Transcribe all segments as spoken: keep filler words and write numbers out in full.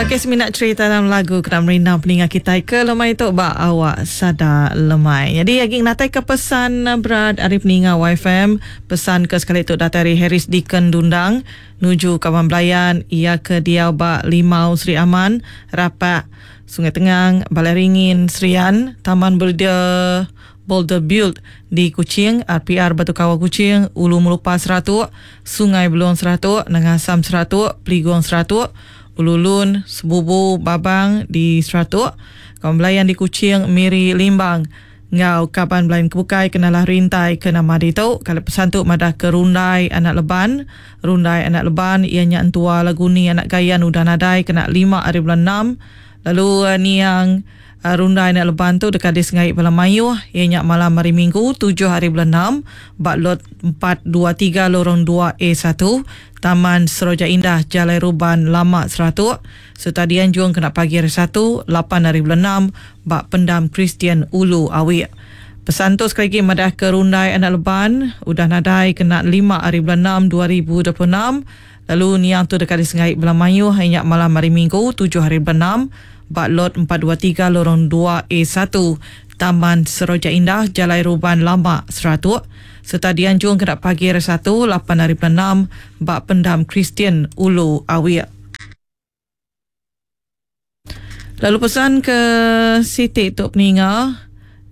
Okey, semina cerita dalam lagu kena merindang peninga kitai ke lemai tu ba awak sada lemai. Jadi agi ngenatai ke pesan berat ari peninga Y F M. Pesan ke sekali tu datai ari Harris Deacon Dundang nuju kawan belayan ia ke diau ba Limau Sri Aman, Rapak, Sungai Tengang, Balai Ringin, Serian, Taman Berdia Boulder Build di Kuching, R P R Batu Kawa Kuching, Ulu Melupa Seratuk, Sungai Belong Seratuk, Nengasam Seratuk, Peligong Seratuk, Ululun, Sebubu, Babang di Seratuk, kawan belayan di Kuching, Miri, Limbang, ngau kaban belayan kebukai kenalah rintai ke nama ditu. Kalau pesan tu madah ke Rundai Anak Leban. Rundai Anak Leban ianya entua Laguni Anak Gayan udah nadai kena lima hari bulan enam. Lalu uh, niang uh, Rundai Anak Leban tu dekat di Sengai Bala Mayuh ianya malam hari Minggu tujuh hari bulan enam bak lot empat dua tiga lorong dua A satu Taman Seroja Indah Jalai Ruban Lama Seratuk serta dianjung kena pagi hari Satu lapan hari bulan enam bak Pendam Kristian Ulu Awik. Pesan tu sekali lagi madah ke Rundai Anak Leban udah nadai kena lima hari bulan enam dua ribu dua puluh enam. Lalu niang tu dekat di Sengai Bala Mayuh ianya malam hari Minggu tujuh hari bulan enam bak lot empat dua tiga lorong dua A satu Taman Seroja Indah Jalai Ruban Lama Seratuk serta dianjung kena pagi hari Satu lapan hari bulan enam bak Pendam Kristian Ulu Awik. Lalu pesan ke Siti tu peninga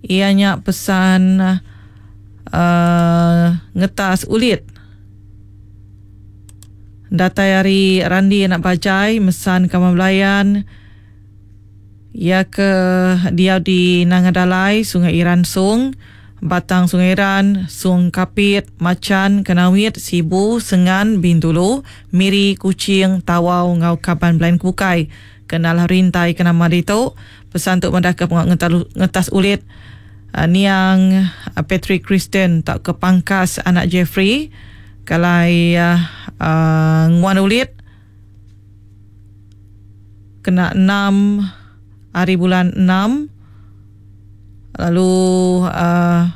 ianya pesan uh, ngetas ulit. Datai hari Randi anak Bajai mesan kawan belayan ia ke dia di Nangadalai, Sungai Iran Sung, Batang Sungai Iran, Sung Kapit, Macan, Kenawit, Sibu, Sengan, Bintulu, Miri, Kuching, Tawau, Ngau Kaban Belayan Kukai. Kenal rintai ke nama ditu. Pesan tu madah ke pengak ngetas ulit uh, niang uh, Patrick Kristen tak ke Pangkas anak Jeffrey. Kalai uh, uh, nguan ulit kena enam hari bulan enam. Lalu uh,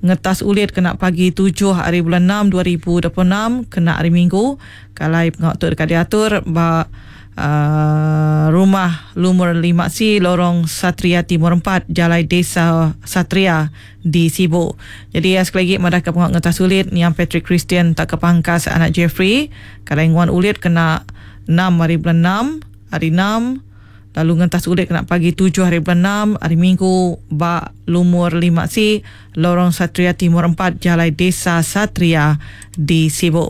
ngetas ulit kena pagi tujuh hari bulan enam dua ribu dua puluh enam kena hari Minggu. Kalai pengak tu dekat diatur ba uh, rumah lumur lima C Lorong Satria Timur empat Jalai Desa Satria di Sibu. Jadi ya, sekali lagi madah ke pengak ngetas ulit niang Patrick Christian tak ke Pangkas anak Jeffrey. Kalai nguan ulit kena enam hari bulan enam hari enam. Lalu ngentas ulit kena pagi tujuh hari bulan enam hari Minggu bak lumur lima C Lorong Satria Timur empat Jalai Desa Satria di Sibu.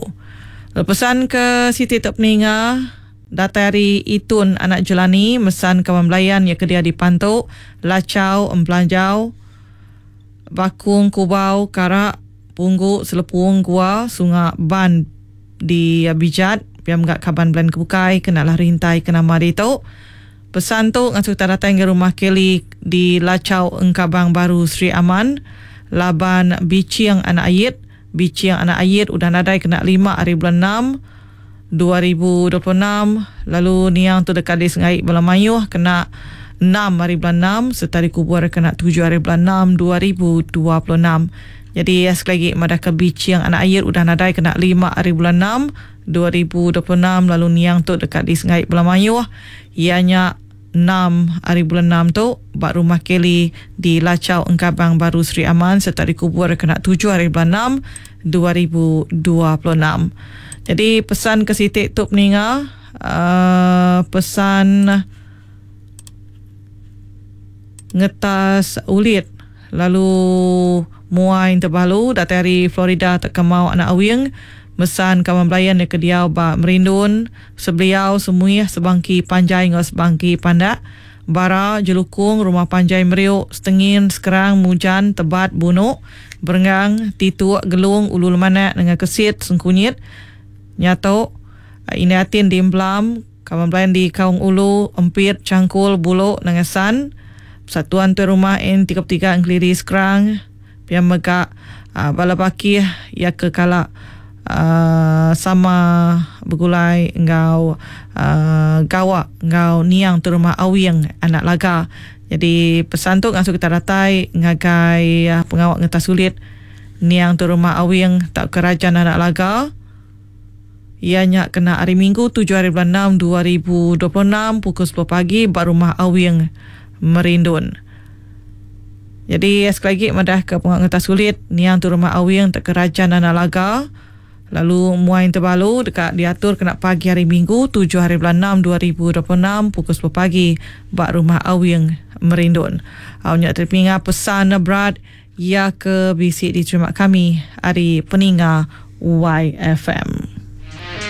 Pesan ke Siti Tok Peninga datai hari Itun anak Jelani mesan kawan belayan yang kedia di Pantuk, Lacau, Empelanjau, Bakung, Kubau, Karak, Punggu, Selepung, Gua, Sungai Ban di Bijat, piam gak kaban belayan kebukai kenalah rintai ke nama ditu. Pesan tu ngasuh kita datang ke rumah Kelly di Lacau Engkabang Baru Sri Aman, Laban Biciang Anak Ayit, Biciang Anak Ayit udah nadai kena lima hari bulan enam dua ribu dua puluh enam. Lalu niang tu dekat di Sengai Bala Mayuh kena enam hari bulan enam serta dikubur kena tujuh hari bulan enam dua ribu dua puluh enam. Jadi sekali lagi madah ke Biciang Anak Ayit udah nadai kena lima hari bulan enam dua ribu dua puluh enam. Lalu niang tu dekat di Sengai Bala Mayuh ianya enam hari bulan enam tu bak rumah Kelly di Lacau Engkabang Baru Sri Aman serta dikubur kena tujuh hari bulan enam dua ribu dua puluh enam. Jadi pesan ke Siti tu peninga uh, pesan ngetas ulit lalu muai terbalu datang dari Florida tak kemau anak awing mesan kawan belayan dia ke diau ba Merindun sebeliau semuih sebangki panjai ngau sebangki pandak bara jelukung rumah panjai meriuk setengin sekerang mujan tebat bunuk berenggang tituk gelung ulu lemanak dengan kesit sengkunyit nyatok ini atin di Emblam kawan belayan di Kaung Ulu Empit Cangkul Buluk Nangasan Persatuan Tuan Rumah N tiga puluh tiga Engkeliri Sekerang piam megak uh, bala bakih ya ke kalak Uh, sama bergulai ngau uh, gawak ngau niang tu rumah awing anak laga. Jadi pesan tu ngasuh kita datai ngagai uh, pengawak ngetas sulit niang tu rumah awing tak kerajaan anak laga. Ianya kena hari Minggu tujuh hari bulan enam dua ribu dua puluh enam pukul sepuluh pagi ba rumah Awing Merindun. Jadi sekali lagi madah ke pengawa ngetas ulit niang tu rumah Awing tak Kerajaan Anak Laga. Lalu muai terbalu dekat diatur kena pagi hari Minggu tujuh hari bulan enam dua ribu dua puluh enam pukul sepuluh pagi ba rumah Awing Merindun. Au nya terpinga pesan berat ia ke bisi diterima kami hari peninga Y F M.